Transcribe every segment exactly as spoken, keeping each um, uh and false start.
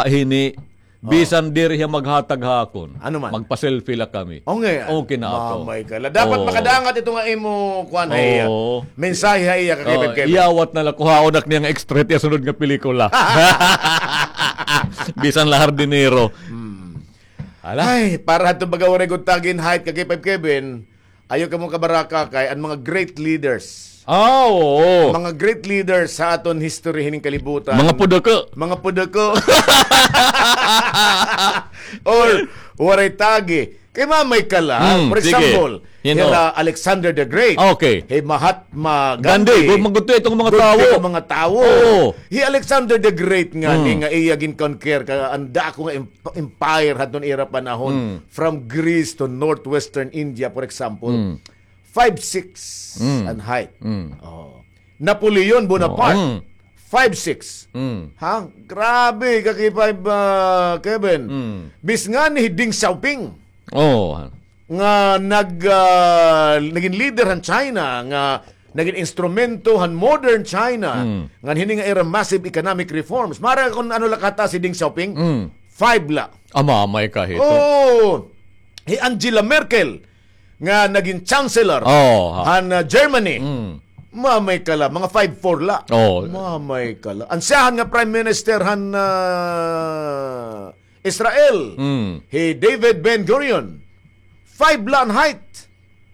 hini, bisan diri hiya maghatag ha akon. Ano man? Magpa-selfie la kami. O nga. Okay na ako. Mamay ka la. Dapat makadangat ito nga imo, kuan, ha iya. Oo. Mensahe ha iya, ka Kevin, Kevin. Iyawat na la, kuhaon ak niya nga extra it iya sunod nga pelikula. Bisan la hardinero. Hmm. Ala. Ay, para hadto baga waray gud tagi in height, ka K five Kevin, ayaw kamo kabaraka kay an mga great leaders. Ah, oo. Mga great leaders sa aton history hining kalibutan. Mga puduko. Mga puduko. Or waray tagi. Kay mamay ka la. Hmm, for example, hira Alexander the Great. Okay. Hi Mahatma Gandhi. Gandhi. Gud man gud to itong mga tawo. Gud kay mga tawo. Oo. Hi Alexander the Great nga ni nga iya gin-conquer ka an dako nga em-, empire hadton ira panahon, from Greece to northwestern India, for example, five six an height. Oh. Napoleon Bonaparte, five six. Ha? Grabe, ka K five, ah, Kevin. Bis nganhi hi Deng Xiaoping. Oh. Nga nag, ah, nagin leader han China, nga nagin instrumento han modern China, ngan hini nga ira massive economic reforms. Mara kon ano la kataas hi Deng Xiaoping? Five la. Ama, may kahito. Oo. Hi Angela Merkel, nga nagin chancellor han, ah, Germany. Mamay ka la, mga five four la. Oh. Mamay ka la. An siyahan nga prime minister han, ah, Israel, hi David Ben Gurion, five la an height.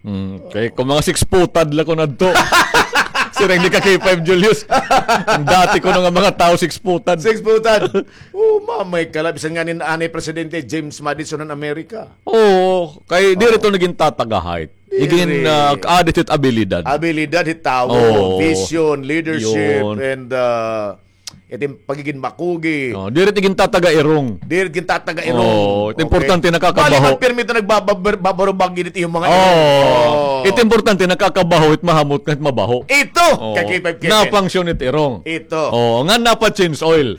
Mm, kay kung mga six-footad la kuno adto. Siring ni ka K five Julius. An dati kuno nga mga tawo six-footad. Six-footad. Oh, mamay ka la. Bisan ngani anay presidente James Madison han Amerika. Oo, kay diri to nagin tataga height. Igin, ah, added it abilidad. Abilidad hit tawo, vision, leadership, and, ah, it im pagigin makugi. Oh, diri it igin tataga irong. Diri it igin tataga irong. Oh, it importante nakakabaho. Bali man pirmi ito nagbabarubag it iyong mga irong. Oh. It importante nakakabaho, it mahamot, it mabaho. Ito, ka K five Kevin. Na-function it irong. Ito. Oh, nga napa-change oil.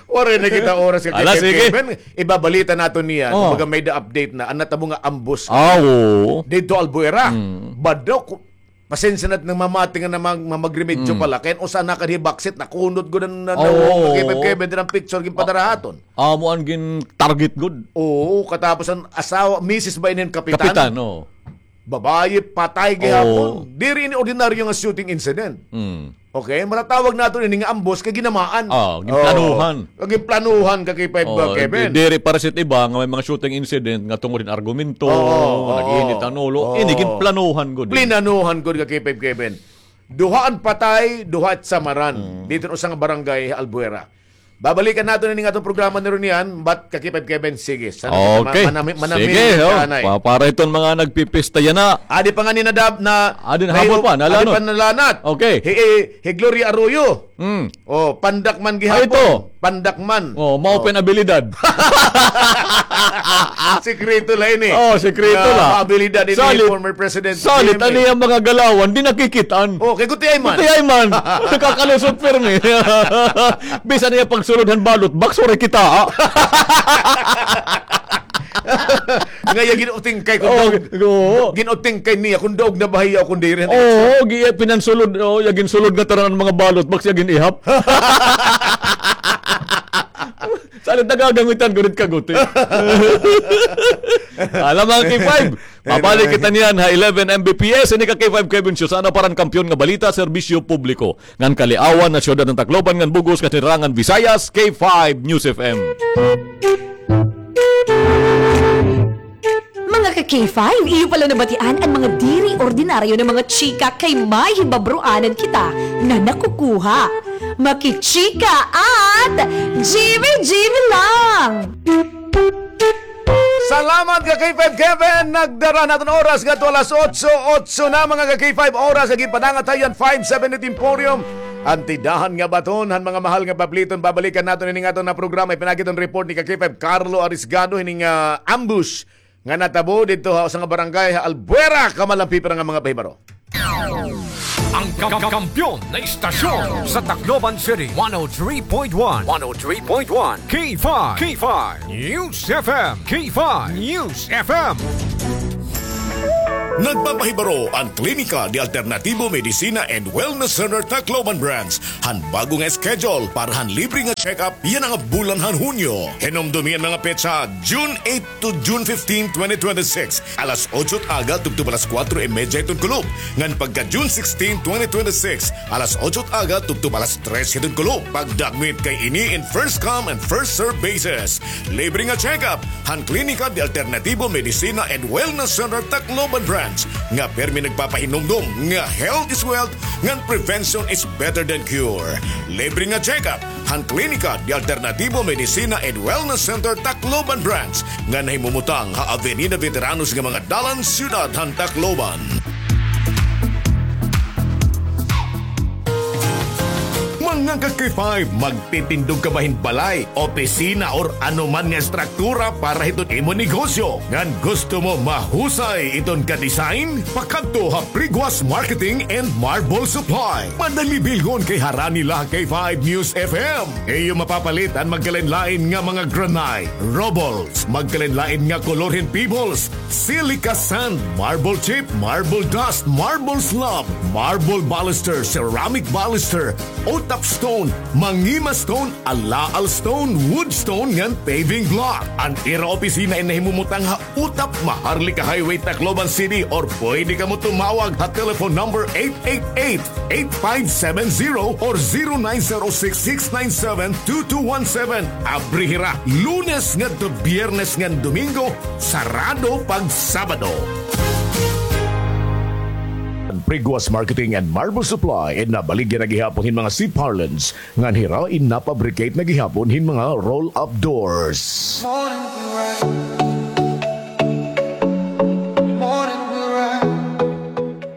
Waray na kita oras ka K five Kevin. Ibabalita naton niya. Kumbaga may da update na. An natabo nga ambos. Ah, oo. Didto Albuera. Bado ko. Pasensya na it mga mamati nga namag-, mamagrimedyo pala. Kay an usa nakadi baksit, nakunot gud an, an, ka Kevin, diri an picture ginpadara ha aton. Amo an gin-target gud. Oo, katapos an asawa, misis ba ini han kapitan? Kapitan, oo. Babaye, patay gihapon. Oo. Diri ini ordinaryo nga shooting incident. Mm. Okay, matatawag naton ini nga ambos kay ginamaan. Ah, ginplanuhan. Oh, ginplanuhan ka K five, oh, Kevin. Di-, diri para sa iba nga may mga shooting incident nga tungod hin argumento, oo, nag-init an ulo. Oo. Ini ginplanuhan gud. Plinanuhan gud ka K five, Kevin. Duha an patay, duha it samaran. Mm. Didto usa nga barangay, Albuera. Babalikan naton ini nga aton programa ni Ronian, but ka K five Kevin, sige. Sana kita ma-, manami-, manami-, sige, oh. Pa-, para iton mga nagpipista yana. Adi pa ngani na dab-, na, adi na, habol pa, nalanat. Adi pa nalanat. Okay. Hi, hi, hi Gloria Arroyo. Mm. Oh, pandak man gihapon. Ay, ito. Pandak man. Oh, mao pa in abilidad. Sikreto la ini. Oh, sikreto la. Abilidad ini, former President J M A. Salit an iyang mga galawan, di nakikit-an. Oh, kay gutiay man. Gutiay man. Nakakalusot pirmi. Bisan iya pagsulod han ballot box, waray kita, ah. Nga iya gin-utingkay kon daog. Oo. Gin-utingkay niya kon daog na ba hiya o kon diri. Oo, gi-, pinansulod, oo, iya ginsulod nga tanan an mga ballot box, iya gin-ihap. Salit nagagangitan gud it kaguti. Ala, mga K five, mabalik kita niyan ha eleven M B P S, ini ka K five Kevin Show. Sa ano pa ran kampiyon nga balita, serbisyo publiko. Ngan kaliawan na siyudad han Tacloban ngan bug-os nga sinirangan Visayas, K five News F M. Mga ka K five, iyo pala nabatian an mga diri ordinaryo nga mga chika kay may hibabroanan kita na nakukuha. Makichika at G B G B lang! Salamat ka K five Kevin. Nagdara an aton oras ngadto alas otso, otso na mga ka K five oras. Agi panangat hayan five seventy Emporium. An tindahan nga baton han mga mahal nga pabliton. Babalikan naton ini nga aton nga programa. Ipinagi iton report ni ka K five Carlo Arisgado hini nga ambush nga natabo didto ha usa nga barangay ha Albuera, Kamalampi, para nga mga pahibaro. Ang ka-, kampiyon na istasyon sa Tacloban City, one oh three point one, one oh three point one, K five, K five News F M, K five News F M. Nagpapahibaro an Klinika de Alternativo Medicina and Wellness Center Tacloban Branch han bago nga schedule para han libre nga check-up yana nga bulan han Hunyo. Hinumdumi an mga petsa, June eight to June fifteen, twenty twenty-six, alas otso it aga tubtob alas kuwatro y medya hiton kulop, ngan pagka June sixteen, twenty twenty-six, alas otso it aga tubtob alas tres hiton kulop. Pagdagmit kay ini in first come and first serve basis. Libre nga check-up han Klinika de Alternativo Medicina and Wellness Center Tacloban Branch nga pirmi nagpapahinumdom nga health is wealth ngan prevention is better than cure. Libre nga check-up han Klinika de Alternativo Medicina and Wellness Center Tacloban Branch nga nahimumutang ha Avenida Veteranos nga mga dalan, siyudad han Tacloban. Mga ka-K five, magtitindog ka ba hin balay, opisina, or anuman nga estruktura para hiton imo negosyo? Ngan gusto mo mahusay iton ka-design? Pakadto ha Priguas Marketing and Marble Supply. Madali bilhon kay harani la ha K five News F M. Iyo mapapalit an magkalain-lain nga mga granite, rubbles, magkalain-lain nga kolor hin pebbles, silica sand, marble chip, marble dust, marble slab, marble baluster, ceramic baluster, utap stone, mangima stone, alaal stone, wood stone, ngan paving block. An ira opisina in nahimumutang ha Utap, Maharlika Highway, Tacloban City, or pwede kamo tumawag ha telephone number eight eight eight, eight five seven zero or zero nine zero six, six nine seven, two two one seven. Abri hira Lunes ngadto Biyernes ngan Domingo, sarado pag Sabado. An Priguas Marketing and Marble Supply in nabaligya na gihapon hin mga C-parlance ngan hira in napabricate na gihapon hin mga roll-up doors.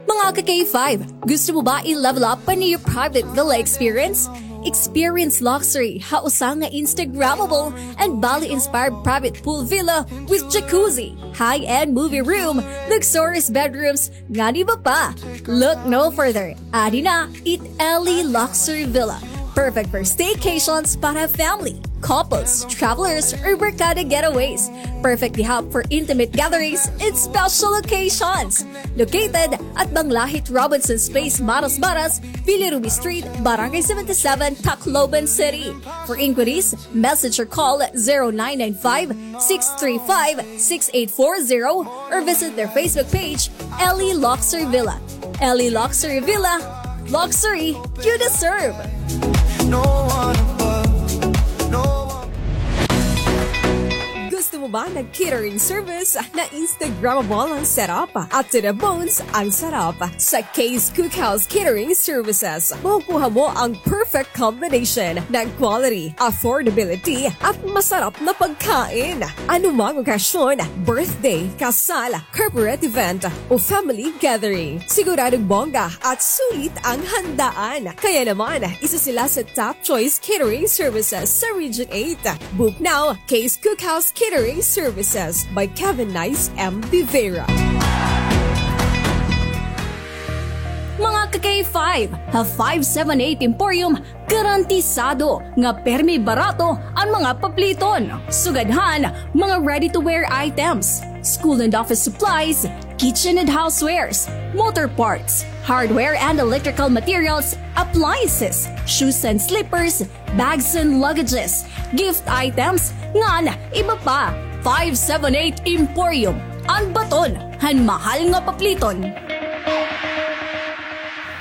Mga ka-K five, gusto mo ba i-level up pa an iyo private villa experience? Experience luxury ha usa nga Instagrammable and Bali-inspired private pool villa with jacuzzi, high-end movie room, luxurious bedrooms, ngan iba pa. Look no further. Adi na it Ellie Luxury Villa. Perfect for staycations para family, couples, travelers, or barkada getaways. Perfect gihap for intimate gatherings and special occasions. Located at Banglahit Robinson's Place, Marasbaras, Villa Ruby Street, Barangay seventy-seven, Tacloban City. For inquiries, message or call zero nine nine five, six three five, six eight four zero or visit their Facebook page, Ellie Luxury Villa. Ellie Luxury Villa, luxury you deserve. Gusto mo ba ng catering service na Instagrammable ang setup at to the bones ang sarap? Sa Kay's Cookhouse Catering Services, makukuha mo ang perfect combination ng quality, affordability, at masarap na pagkain. Anumang okasyon, birthday, kasal, corporate event, o family gathering, siguradong bongga at sulit ang handaan. Kaya naman, isa sila sa top choice catering services sa Region eight. Book now, Kay's Cookhouse Catering Services by Kevin Nice M. De Vera. Mga ka-K five, ha five seven eight Emporium, garantisado nga pirmi barato an mga papliton. Sugad han mga ready-to-wear items, school and office supplies, kitchen and housewares, motor parts, hardware and electrical materials, appliances, shoes and slippers, bags and luggages, gift items, ngan iba pa. Five seven eight Emporium, an baton han mahal nga papliton.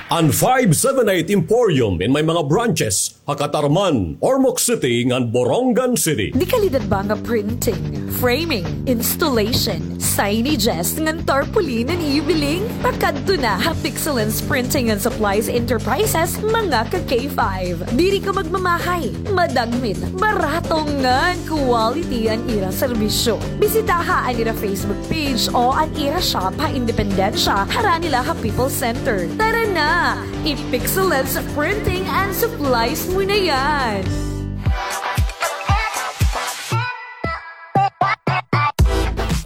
An five seven eight Emporium in may mga branches ha Catarman, Ormoc City, ngan Borongan City. Dekalidad ba nga printing, framing, installation, signages, ngan tarpaulin an iyo biling? Pakadto na ha Pixelance Printing and Supplies Enterprises, mga ka-K five. Diri ka magmamahay, madagmit, barato ngan quality an ira serbisyo. Bisitaha an ira Facebook page o an ira shop ha Independencia, harani la ha People's Center. Tara na! I-Pixelance Printing and Supplies mo na yan!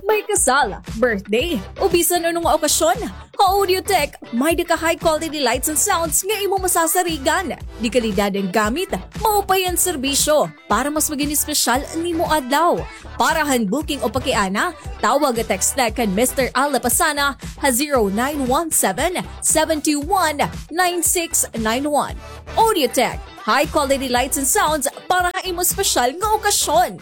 May kasal, birthday, o bisan ano nga okasyon. Ha Audiotech, may-ada ka high quality lights and sounds nga imo masasarigan. De kalidad an gamit, maupay an serbisyo para mas maging espesyal an imo adlaw. Para han booking o pakiana, tawag o text la kan Mister Al Lapasana ha zero nine one seven, seven two one, nine six nine one. Audiotech, high quality lights and sounds para ha imo espesyal nga okasyon.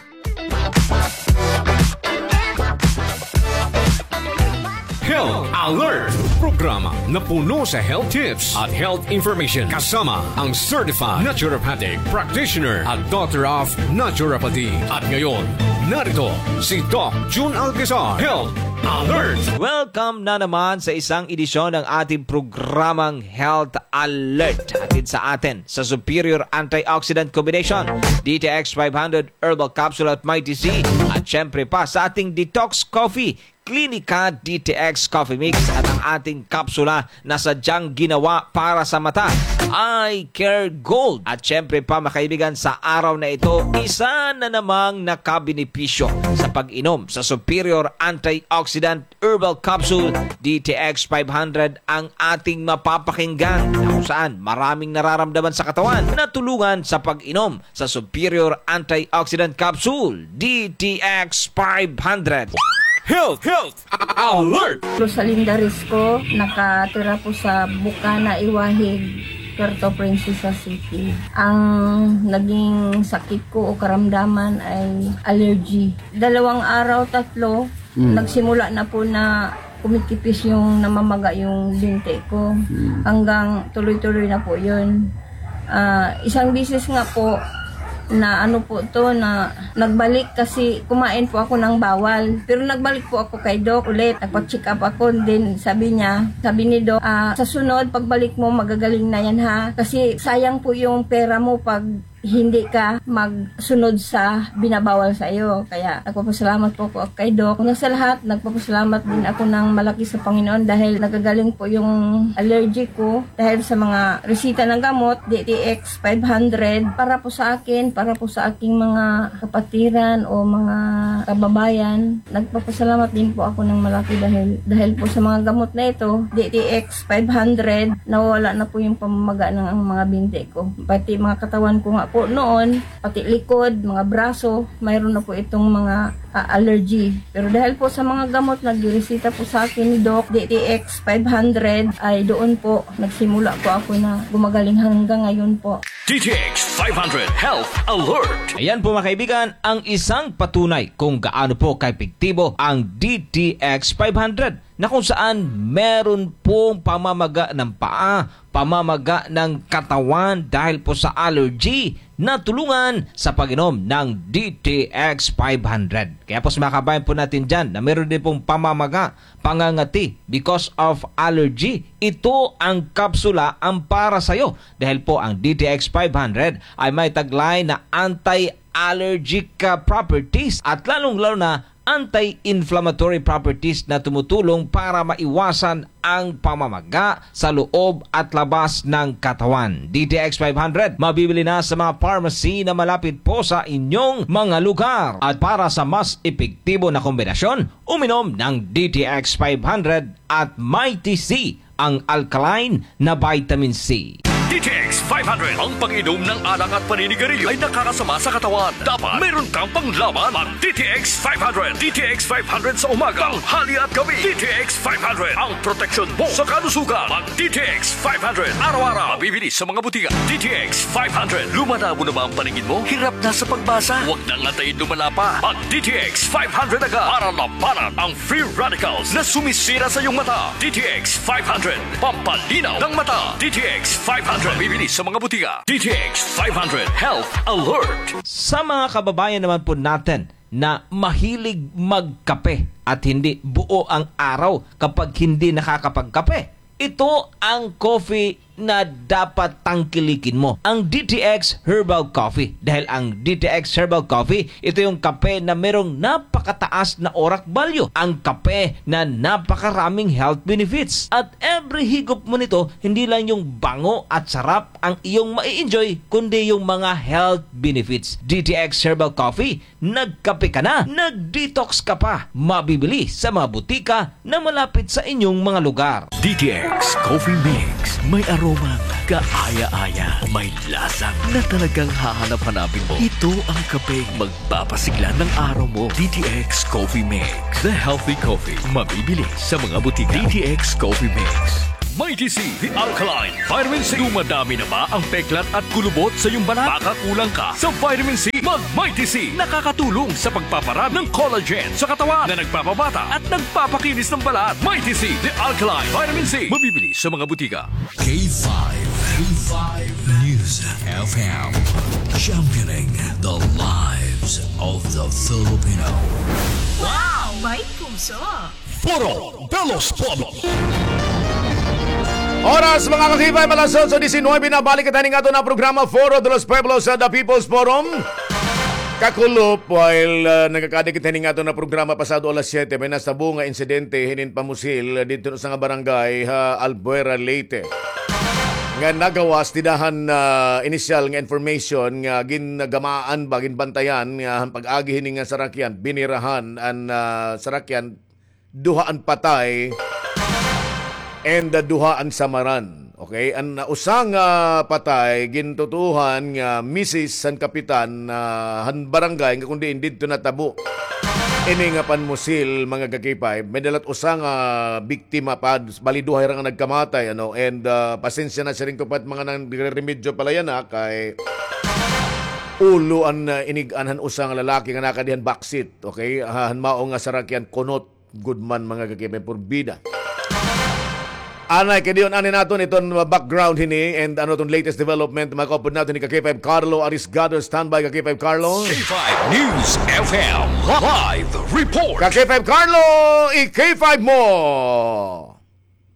Health Alert! Programa na puno sa health tips at health information kasama ang certified naturopathic practitioner at Doctor of Naturopathy. At ngayon, narito si Doc Jun Alcazar. Health Alert! Welcome na naman sa isang edisyon ng ating programang Health Alert. Hatid sa atin sa Superior Antioxidant Combination, D T X five hundred Herbal Capsule at Mighty C, at syempre pa sa ating Detox Coffee, Clinica D T X Coffee Mix, at ang ating kapsula na sadyang ginawa para sa mata, Eye Care Gold. At syempre pa, mga kaibigan, sa araw na ito, isa na namang nakabenepisyo sa pag-inom sa Superior Antioxidant Herbal Capsule D T X five hundred ang ating mapapakinggan, na kung saan maraming nararamdaman sa katawan na tulungan sa pag-inom sa Superior Antioxidant Capsule D T X five hundred. Health, health, alert! Rosalinda Risco, nakatira po sa Bukana, Iwahig, Puerto Princesa City. Ang naging sakit ko o karamdaman ay allergy. Dalawang araw, tatlo, Mm. nagsimula na po na kumikipis yung namamaga yung binti ko. Mm. Hanggang tuloy-tuloy na po yun. Ah, isang bisis nga po na ano po to, na nagbalik kasi kumain po ako ng bawal. Pero nagbalik po ako kay Doc ulit. Nagpa-check up ako. Then sabi niya, sabi ni Doc, "Ah, sa sunod, pagbalik mo, magagaling na yan ha. Kasi sayang po yung pera mo pag hindi ka magsunod sa binabawal sa iyo." Kaya nagpapasalamat po ako kay Doc. Una sa lahat, nagpapasalamat din ako ng malaki sa Panginoon dahil nagagaling po yung allergy ko dahil sa mga resita ng gamot, D T X five hundred, para po sa akin, para po sa aking mga kapatiran o mga kababayan. Nagpapasalamat din po ako ng malaki dahil, dahil po sa mga gamot na ito, D T X five hundred, nawawala na po yung pamamaga ng ang mga binti ko. Pati mga katawan ko nga po noon, pati likod, mga braso, mayroon na po itong mga, ah, allergy. Pero dahil po sa mga gamot na giresita po sa akin ni Doc, D T X five hundred, ay doon po nagsimula po ako na gumagaling hanggang ngayon po. D T X five hundred Health Alert. Ayan po, mga kaibigan, ang isang patunay kung gaano po kaepektibo ang D T X five hundred, na kung saan meron pong pamamaga ng paa, pamamaga ng katawan dahil po sa allergy, natulungan sa pag-inom ng D T X five hundred. Kaya po, sa mga kabayan po natin dyan na meron din pong pamamaga, pangangati because of allergy, ito ang kapsula ang para sa'yo. Dahil po ang D T X five hundred ay may taglay na anti-allergic, ah, properties at lalong-lalo na anti-inflammatory properties na tumutulong para maiwasan ang pamamaga sa loob at labas ng katawan. D T X five hundred, mabibili na sa mga pharmacy na malapit po sa inyong mga lugar. At para sa mas epektibo na kombinasyon, uminom ng D T X five hundred at Mighty C, ang alkaline na vitamin C. D T X five hundred, ang pag-inom ng alak at paninigarilyo ay nakakasama sa katawan. Dapat mayroon kang panglaban. Mag D T X five hundred. D T X five hundred sa umaga, tanghali at gabi. D T X five hundred, ang proteksyon mo sa kalusugan. Mag D T X five hundred, araw-araw. Mabibili sa mga butika. D T X five hundred, lumalabo na ba ang paningin mo? Hirap na sa pagbasa? Huwag nang antayin lumala pa. Mag D T X five hundred agad para labanan ang free radicals na sumisira sa iyong mata. D T X five hundred, pampalinaw ng mata. D T X five hundred, mabibili sa mga butika. D T X five hundred Health Alert. Sa mga kababayan naman po natin na mahilig magkape at hindi buo ang araw kapag hindi nakakapagkape, ito ang coffee na dapat tangkilikin mo ang D T X Herbal Coffee. Dahil ang D T X Herbal Coffee, ito yung kape na merong napakataas na orak value. Ang kape na napakaraming health benefits. At every higop mo nito, hindi lang yung bango at sarap ang iyong mai-enjoy, kundi yung mga health benefits. D T X Herbal Coffee, nagkape ka na, nag-detox ka pa. Mabibili sa mga butika na malapit sa inyong mga lugar. D T X Coffee Mix. May aromang kaaya-aya. May lasa na talagang hahanap-hanapin mo. Ito ang kapeng magpapasigla ng araw mo. D T X Coffee Mix. The healthy coffee. Mabibili sa mga butika. D T X Coffee Mix. Mighty C, the alkaline vitamin C. Dumadami na ba ang peklat at kulubot sa iyong balat? Baka kulang ka sa vitamin C. Mag Mighty C. Nakakatulong sa pagpaparami ng collagen sa katawan na nagpapabata at nagpapakinis ng balat. Mighty C, the alkaline vitamin C. Mabibili sa mga butika. K five, K five News F M, championing the lives of the Filipino. Wow! May puso! Foro de los Pueblos. Oras, mga ka-K five, alas otso diecinuebe na. Balik kita ning ato na programa, Foro de los Pueblos, sa The People's Forum. Kakulop, while, ah, nagakadi kita ning ato na programa pasado alas siyete, may nasabo nga insidente hinin pamusil didto sa nga barangay ha Albuera, Leyte. Nga nagawas, dida han, ah, inisyal nga information nga gingamaan ba, ginbantayan nga han pag-agi hini nga sarakyan, binirahan an, ah, sarakyan, duha an patay and, uh, duha an samaran. Okay? An, uh, usa nga patay, gintutuohan nga misis san kapitan, uh, han barangay nga kun diin didto natabo ini nga panmusil, mga ka-K five. May dalat usa nga biktima pa, bali duha hira nga nagkamatay, ano, and, uh, pasensya na siring ko pa mga nagre-remedyo pala yana kay ulo an, uh, inig-an han usa nga lalaki nga nakadi han backseat, okay? Han mao nga sarakyan, kunot gud man, mga ka-K five, porbida. Anay, kay diyon, anay naton iton background hini and ano ton latest development, makaupod naton ni ka-K five Carlo Arisgado. Standby, ka-K five Carlo. K five News F M live report. Ka-K five Carlo, i-K five mo.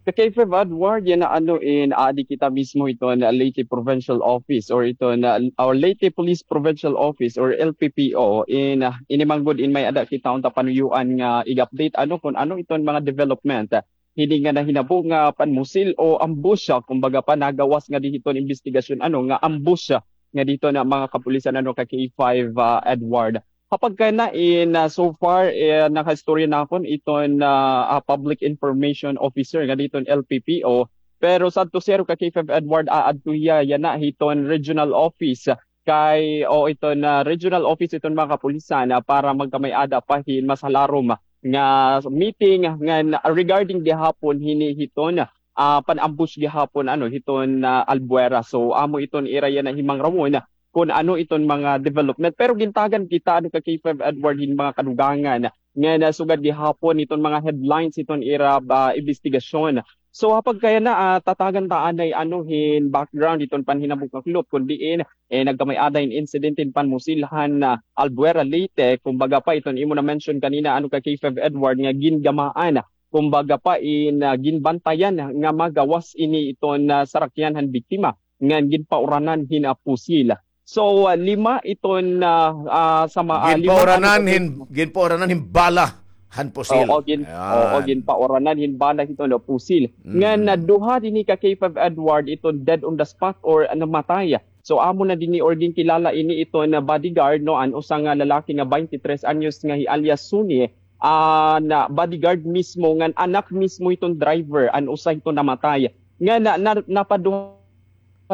Ka-K five Edward, yana ano in, adi kita mismo iton, ah, Leyte Provincial Office or iton, ah, or Leyte Police Provincial Office or L P P O in, ah, ini man gud in may-ada kita unta panuyuan nga i-update ano kun ano iton mga development, ah, hini nga nahinabo nga panmusil o ambush, ah, kumbaga pa nagawas nga didto iton imbestigasyon ano nga ambush, ah, nga didto nga mga kapulisan ano ka-K five, ah, Edward. Ha pagkayana in, ah, so far, eh, nakaistorya nakon iton, ah, ah, public information officer nga didto L P P O. Pero sadto siyero ka-K five Edward, aadto hiya yana hiton regional office kay, o iton regional office iton mga kapulisan, ah, para magkamay-ada pa hin mas halarom nga meeting ngan regarding gihapon hini hiton, ah, pan-ambush gihapon ano hiton, ah, Albuera. So amo iton ira yana himangrawon kun ano iton mga development. Pero gintagan kita, ano, ka-K five Edward, hin mga kadugangan nga nasugad gihapon iton mga headlines iton ira, ah, imbestigasyon. So, ha pagkayana, ah, tatagan ta anay, ano, hin background iton panhinabo, kakulop, kun diin, eh, nagkamay-ada hin insidente hin panmusil han, ah, Albuera, Leyte, kumbaga pa iton imo na-mention kanina, ano, ka-K five Edward, nga gingamaan, kumbaga pa in, ah, ginbantayan nga magawas ini iton, ah, sarakyan han biktima ngan ginpauranan hin, ah, pusil. So, ah, lima iton, ah, ah, sama, ah, lima, ginpauranan ano, hin, ginpauranan hin bala han pusil. Oo, gin-, oo, ginpauranan hin bala hiton pusil. Mm. Ngan, ah, duha dinhi ka-K five Edward iton dead on the spot or namatay. So, amo na dinhi or ginkilala ini iton bodyguard, no, an usa nga lalaki nga baynte tres anyos nga hi alias Suni, ah, na bodyguard mismo, ngan anak mismo hiton driver, an usa hiton namatay. Nga na, na, napaduha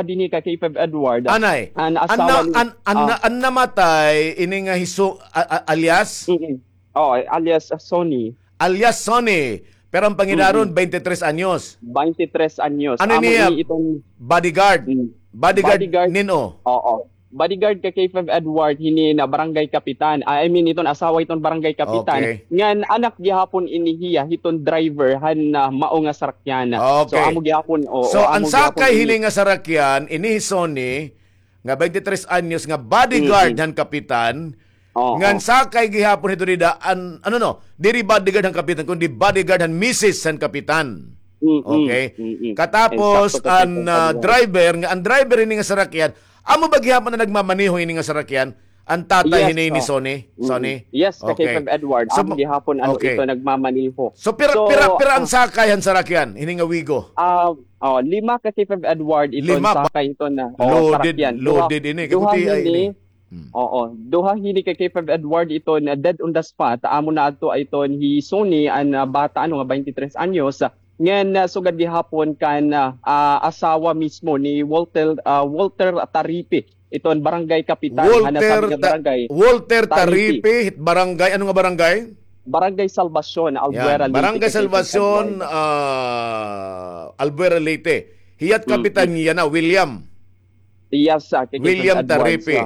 dinhi ka-K five Edward. Anay, an asawa ni, an, an, ah, an namatay, ini nga hi Su-, a-, a-, alias? Mm-mm. Oo, alias, ah, Sonny. Alias Sonny. Pero an pangidaron, mm-mm, baynte tres anyos. Baynte tres anyos. Ano niya? Amo ini iton bodyguard. Mm. Bodyguard, bodyguard nin-o? Oo. Bodyguard ka-K five Edward, hini na barangay kapitan. Ah, I mean, iton asawa iton barangay kapitan. Okay. Ngan anak gihapon ini hiya hiton driver han, ah, mao nga sarakyan. Okay. So, amo gihapon, oo, so, an sakay hini nga sarakyan, ini hi Sonny, nga baynte tres anyos, nga bodyguard han kapitan, oo, ngan sakay gihapon hito dida, an, ano, no, diri bodyguard han kapitan, kundi bodyguard han misis han kapitan. Mm-mm. Okay. Mm-mm. Katapos, an, ah, driver, nga an driver hini nga sarakyan, amo ba gihapon an nagmamaneho hini nga sarakyan? An tatay hini ni Sonny? Sonny? Yes, ka K five Edward. Amo gihapon, ano, ito nagmamaneho. So, pira, pira, pira an sakay han sarakyan, hini nga Wigo? Ah, oh, lima, ka K five Edward, ito an sakay, ito na, oh, sarakyan. Loaded, loaded ini. Duha hini, Oo, duha hini, ka K five Edward, iton, ah, dead on the spot. Amo na adto iton hi Sonny, an, ah, bata, ano, nga twenty-three anyos. Ngan, ah, sugad gihapon kan, ah, ah, asawa mismo ni Walter, ah, Walter Taripi, iton barangay kapitan, han nasabi nga barangay. Walter Taripi, barangay, ano nga barangay? Barangay Salvacion, Albuera, Leyte. Barangay Salvacion, ah, Albuera, Leyte. Hiya't kapitan niya na, William. Yes, ah, William Taripi.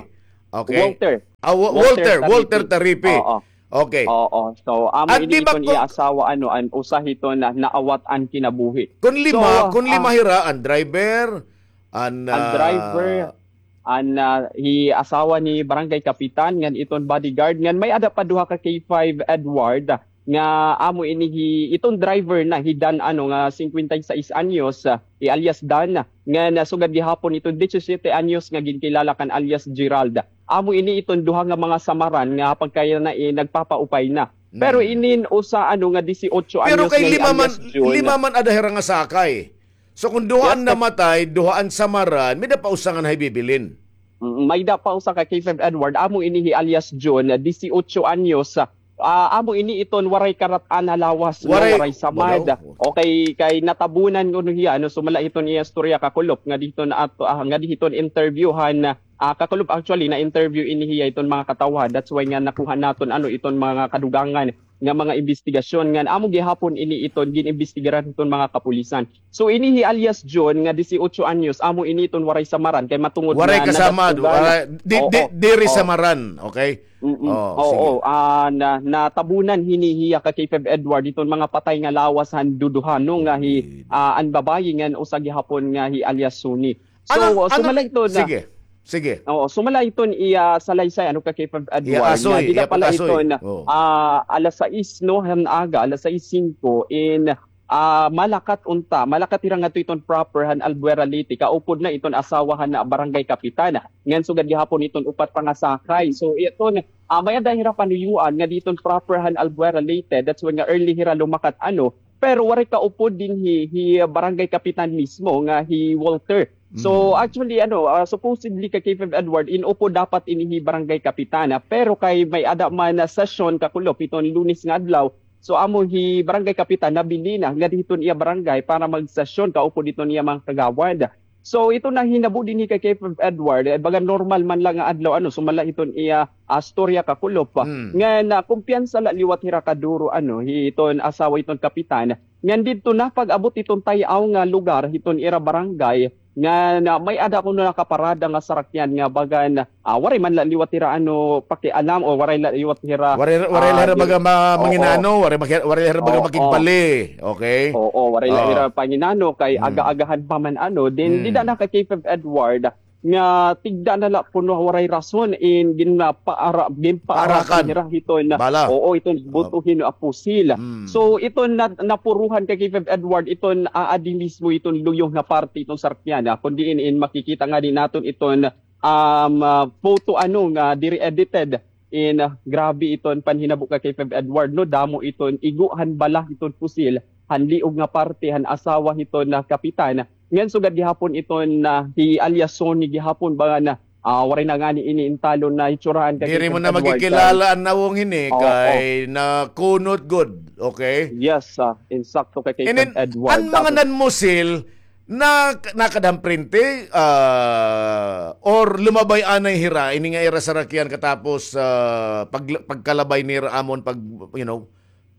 Okay. Walter. Ah, Walter, Walter Taripi. Oo. Okay. Oo. So, amo ini iton iya asawa, ano, an usa hiton naawat an kinabuhi. Kun lima, kun lima hira, an driver, an, an driver, an, ah, hi asawa ni barangay kapitan, ngan iton bodyguard, ngan may-ada pa duha, ka K five Edward, nga amo ini hi, iton driver na hi Dan, ano, nga singkwenta y seis anyos, ah, hi alias Dan, nga nasugad gihapon iton disisyete anyos nga ginkilala kan alias Gerald. Amo ini iton duha nga mga samaran nga pagkaya na, eh, nagpapaupay na. Pero inin usa, ano, nga disiotso anyos nga hi alias Jun. Pero kay lima man, lima man ada hira nga sakay. So kung duha an namatay, duha an samaran, may-ada pa usa nga nahibibilin. Mm, may-ada pa usa, ka K five Edward, amo ini hi alias Jun, disiotso anyos, ah, amo ini iton waray karat-an nga lawas, waray samad. Okay, kay natabunan kuno hiya, ano, sumala hiton iya istorya, kakulop, ngadi hiton ato, ah, ngadi hiton interview han, ah, kakulop, actually, na-interview ini hiya iton mga katawhan. That's why nga nakuha naton, ano, iton mga kadugangan nga mga imbestigasyon ngan amo gihapon ini iton gin-imbestigaran hiton mga kapulisan. So, ini hi alias Jun nga disiotso anyos, amo ini iton waray samaran kay matungod nga waray kasamad, waray, di, di, diri samaran, okay? Oo, ah, na, natabunan hini hiya, ka K five Edward, iton mga patay nga lawas han duduha, no, nga hi, ah, an babayi ngan usa gihapon nga hi alias Suni. So, sumala iton, sige. Sige. Oo, sumala iton iya salaysay, ano, ka K five Edward, nga dida pa la iton, ah, alas sais, no, han aga, alas sais singko, in, ah, malakat unta, malakat hira ngadto iton proper han Albuera, Leyte, kaupod na iton asawa han barangay kapitan. Ngan sugad gihapon iton upat pa nga sakay. So, iton, ah, may-ada hira panuyuan ngadi iton proper han Albuera, Leyte. That's why nga early hira lumakat, ano, pero waray kaupod dinhi hi barangay kapitan mismo nga hi Walter. So, actually, ano, ah, supposedly, ka K five Edward, in-upod dapat ini hi barangay kapitan, ah, pero kay may-ada man nga sesyon, kakulop, iton Lunes nga adlaw. So, amo hi barangay kapitan nabilin na ngadi hiton iya barangay para magsesyon kaupod hiton iya mga kagawad. So, ito nahinabo dinhi, ka K five Edward, eh, baga normal man la nga adlaw, ano, sumala hiton iya, ah, storya, kakulop. Ngan, ah, kumpiyansa la liwat hira kaduro, ano, hiton asawa hiton kapitan. Ngan didto na pag-abot hiton tay-aw nga lugar hiton ira barangay, ngan may-ada kuno nakaparada nga sarakyan nga bagan, ah, waray man la liwat hira, ano, pakialam o waray la liwat hira, waray, waray la hira baga manginano, waray, waray la hira baga makigpali. Okay? Oo, waray la hira panginano kay aga-agahan pa man, ano. Then dida na, ka K five Edward, nga tigda na la kuno waray rason in ginpaara-, ginpaarakan hira hiton, oo, iton buto hin, ah, pusil. So, iton na-, napuruhan, ka K five Edward, iton aadi mismo iton luyo nga parte iton sarakyan, ah, kun diin in makikita ngadi naton iton, um, ah, photo, ano, nga diri edited. In, ah, grabe iton panhinabo, ka K five Edward, no, damo iton igo han bala iton pusil han liog nga parte han asawa hiton, ah, kapitan. Ngan sugad gihapon iton, ah, hi alias Sonny gihapon, baga na, ah, waray na ngani ini in talon na hitsurahan, ka K five Edward. Diri mo na makikilala an nawong hini kay nakunot gud, okay? Yes, ah, insakto, ka K five Edward. An mga nanmusil, na, nakada han prente, ah, or lumabay anay hira, ini nga ira sarakyan katapos, ah, pag-, pagkalabay nira amon pag, you know,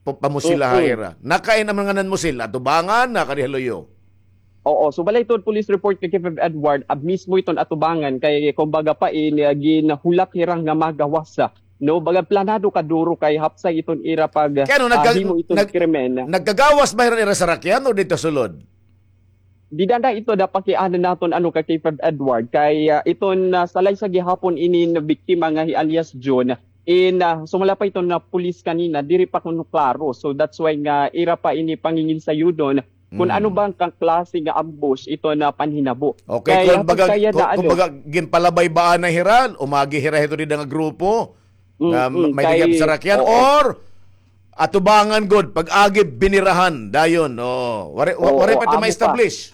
pa-, pamusila ha ira. Nakain an mga nanmusil, atubangan, nakadi ha luyo. Oo, so balay iton police report, ka K five Edward, ab mismo iton atubangan kay kumbaga pa in, ah, ginhulat hira nga magawas, ah, no, baga planado kaduro kay hapsay iton ira pag, ah, himo iton krimen. Nagkagawas ba hira ira sarakyan o didto sulod? Dida na ito da pakiana naton, ano, ka K five Edward, kay, ah, iton, ah, salaysay gihapon inin biktima nga hi alias Jun, in, ah, sumala pa iton na pulis kanina, diri pa kuno klaro. So that's why nga ira pa ini panginginsayudon Kun ano ba nga klase nga ambush iton panhinabo. Okay, kay kumbaga, kumbaga, ginpalabay ba anay hira, umagi hira hito dida nga grupo nga may daghan nga sarakyan, or atubangan gud, pag-agi binirahan dayon. O, waray, waray pa ito ma-establish.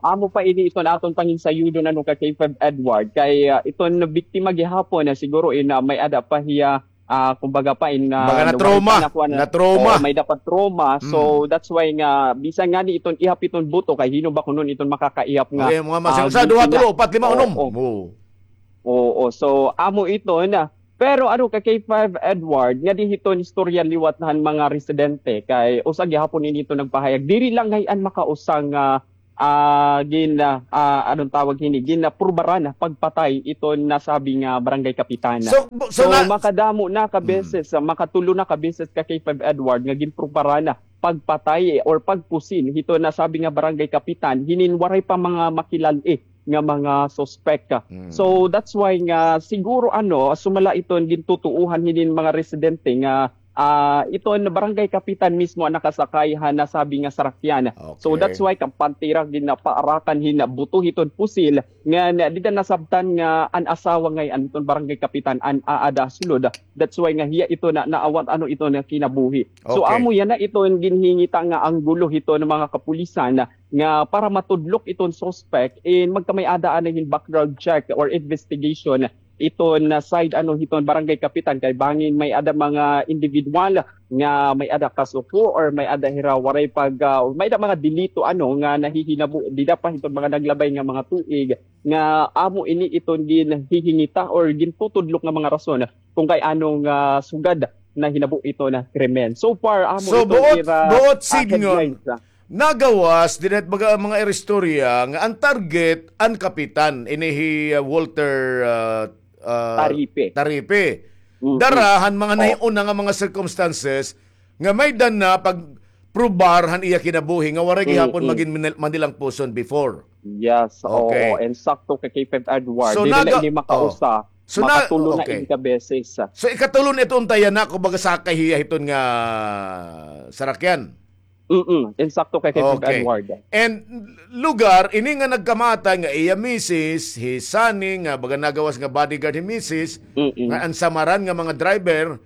Amo pa ini iton aton panginsayudon, ano, ka K five Edward, kay iton biktima gihapon na siguro in may-ada pa hiya, kumbaga pa in, baga na-trauma, na-trauma. May-ada pa trauma. So that's why nga bisan ngani iton ihap iton buto, kay hin-o ba kuno iton makakaihap nga, mga masing usa, duha, tulo, upat, lima, unom. Oo, so amo iton. Pero ano, ka K five Edward, ngadi hiton istorya liwat han mga residente, kay usa gihapon ini iton nagpahayag, diri la ngay-an makausa nga ah, gin, ah, ah, anong tawag hini? Ginaprubaran pagpatay iton nasabi nga barangay kapitan. So, makadamo na ka beses, makatulo na ka beses, ka K five Edward, nga ginprubaran pagpatay or pagpusil hiton nasabi nga barangay kapitan hinin waray pa mga makilal-i nga mga suspek. So that's why nga siguro, ano, sumala iton gintutuohan hinin mga residente nga ah, iton barangay kapitan mismo an nakasakay han nasabi nga sarakyan. So that's why kampante hira ginapaarakan hin buto hiton pusil ngan dida nasabtan nga an asawa ngay-an hiton barangay kapitan an aada sulod. That's why nga hiya iton naawat, ano, iton kinabuhi. So amo yana iton ginhingita nga anggulo hiton mga kapulisan nga para matudlok iton suspek, in magkamay-ada anay hin background check or investigation iton side, ano, hiton barangay kapitan, kay bangin may-ada mga individual nga may-ada kasuko or may-ada hira waray pag, ah, may-ada mga delito, ano, nga nahihinabo dida pa hiton mga naglabay nga mga tuig nga amo ini iton ginhihingita or gintutudlok nga mga rason kung kay ano nga sugad nahinabo iton krimen. So far, amo iton ira, ah, headlines. Nagawas dida hit baga mga ira istorya nga an target an kapitan, ini hi, ah, Walter, ah, ah, Taripe. Dara han mga nahiuna nga mga circumstances nga may-ada na pagprobar han iya kinabuhi nga waray gihapon magin Manil-, Manilang puson before. Yes, oo, insakto, ka K five Edward. So, diri la ini makausa, makatulo na ini ka beses. So, ikatulo na ito unta yana, kumbaga, sakay hiya hiton nga sarakyan. Mm, insakto, ka K five Edward. And lugar ini nga nagkamatay nga iya misis, hi Sunny, nga baga nagawas nga bodyguard hi misis, nga an samaran nga mga driver,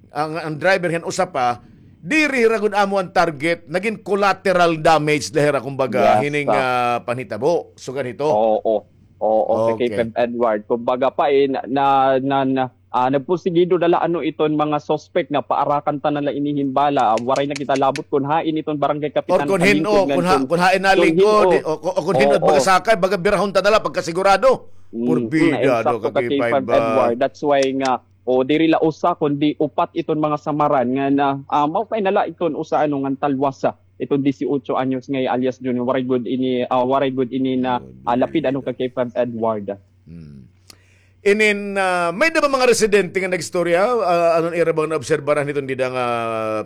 ang, ang driver han usa pa, diri hira gud amo an target, nagin collateral damage la hira, kumbaga, hining, ah, panhitabo. Sugad hito. Oo. Oo, ka K five Edward. Kumbaga pa, eh, na, na, na, na, ah, nagpursigido na la, ano, iton mga suspect nga paarakan ta na la ini hin bala. Ah, waray na kita labot kun hain iton barangay kapitan. Or kun hin-o, kun ha-, kun hain nalingkod, o, o kun hin-o baga sakay, baga birahon ta na la pagkasigurado. Purbida, ano, ka K five Edward. That's why nga, o diri la usa, kundi upat iton mga samaran nga na, ah, maupay na la iton usa, ano, ngan talwas, ah, iton disiotso anyos nga alias Junior. Waray gud ini, ah, waray gud ini na, ah, lapid, ano, ka K five Edward. Inin, ah, may-ada ba mga residente nga nag-istorya? Ah, ano an ira bang naobserbaran hiton dida nga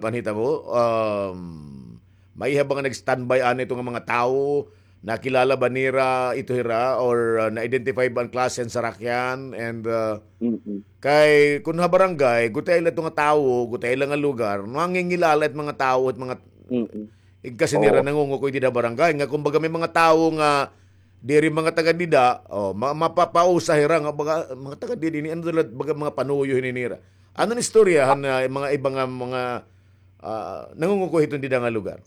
panhitabo? Um, may-ada ba nga nag-standby anay ito nga mga tawo? Nakilala ba nira ito hira or, ah, na-identify ba an klase han sarakyan? And, ah, kay kun ha barangay, gutiay la ito nga tawo, gutiay la nga lugar, mangingilala it mga tawo, it mga igkasi nira nangungukoy dida ha barangay. Nga kumbaga may mga tawo nga diri mga taga dida, o, ma-, mapapausa hira nga baga, mga taga dida ini, ano la, baga mga panuyo hini nira. Ano an istorya han, ah, mga iba nga mga ah, nangungukoy hiton dida nga lugar.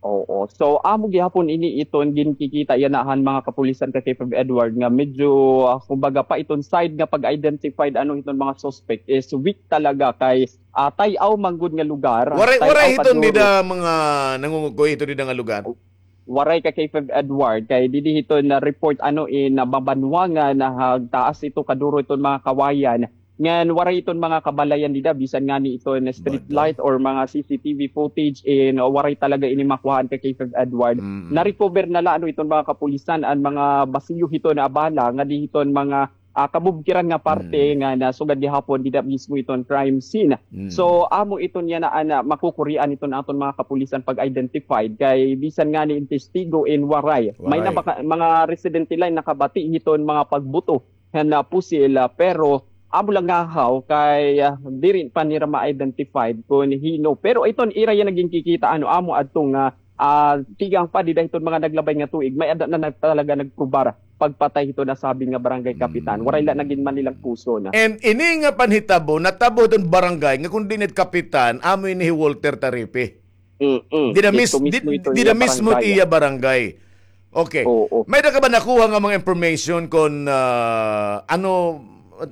Oo. So, amo gihapon ini iton ginkikita yana han mga kapulisan, ka K five Edward, nga medyo, ah, kumbaga pa iton side nga pag-identified, ano, hiton mga suspect is weak talaga kay, ah, tay-aw man gud nga lugar. Waray, waray hiton dida mga nangungukoy hiton dida nga lugar. Waray, ka K five Edward, kay didi hiton na-report, ano, in, ah, Mabanwa nga nahagtaas ito kaduro iton mga kawayan. Ngan waray iton mga kabalayan dida, bisan ngani iton street light or mga C C T V footage, in, waray talaga ini makuhaan, ka K five Edward. Na-recover na la, ano, iton mga kapulisan an mga basiyo hiton na bala ngadi hiton mga, ah, kabubkiran nga parte nga nasugad gihapon dida mismo iton crime scene. So, amo iton yana an, ah, makukurian iton aton mga kapulisan pag-identified kay bisan ngani in testigo in waray. May na baka, mga residente la in nakabati hiton mga pagbuto han, ah, pusil, ah, pero amo la ngahaw kay, ah, diri pa nira ma-identified kon hin-o. Pero iton ira yana ginkikita, ano, amo adto nga, ah, tikang pa dida hiton mga naglabay nga tuig, may-ada na, na talaga nagprubar pagpatay hiton nasabi nga barangay kapitan. Waray la na ginmanilang puso na. And ini nga panhitabo, natabo hiton barangay nga kon diin it kapitan, amo ini hi Walter Taripi. Mm-mm. Dida mis-, dito mismo di, ito dida iya mismo barangay. Iya barangay. Okay. Oo. May da ka ba nakuha nga mga information kon, ah, ano,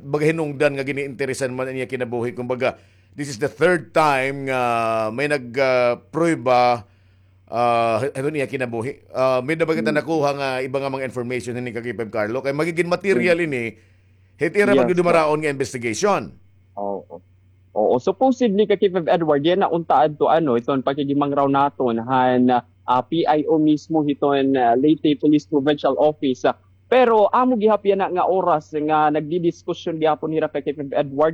baga hinungdan nga giniinteresan man iya kinabuhi? Kumbaga, this is the third time nga may nag, ah, prueba, ah, hiton iya kinabuhi. Ah, may da ba kita nakuha nga iba nga mga information hini ka K five Carlo? Kay magigin material ini hit ira magdudumaraon nga investigation. Oo. Oo, supposedly ka K five Edward, yana unta adto ano, iton pakigimangraw naton han, ah, P I O mismo hiton, ah, Leyte Police Provincial Office. Ah, pero amo gihap yana nga oras nga nagdidiskusyon gihapon hira ka K five Edward